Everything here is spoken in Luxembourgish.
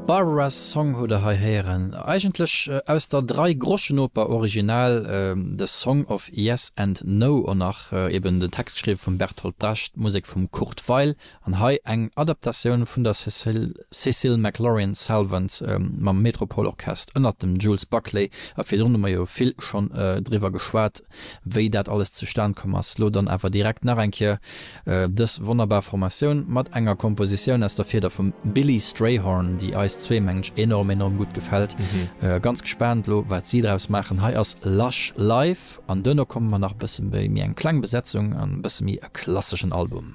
Barbara's Song hutt der hei héieren, eigentlech aus der Dreigroschenoper original, The Song of Yes and No, och nach eben den Text geschriwwe vum Bertolt Brecht, d'Musek vum Kurt Weill an hei eng Adaptatioun vun der Cécile McLorin Salvant mam Metropole Orchest ënnert dem Jules Buckley. A virdrun hu mer jo vill schonn driwwer geschwat, wéi dat alles zustan komm ass. Lo dann awer direkt nach eng Kéier dës wonnerbar Formatioun mat enger Kompositioun aus der Fieder vum Billy Strayhorn, déi eis zwee, mengen ech, enorm, enorm gutt gefält. Ganz gespaant lo, wat si draus maachen. Hei ass Lush Life an duerno komme mer nach e bësse méi eng kleng Besetzung an e bësse méi e klasseschen Album.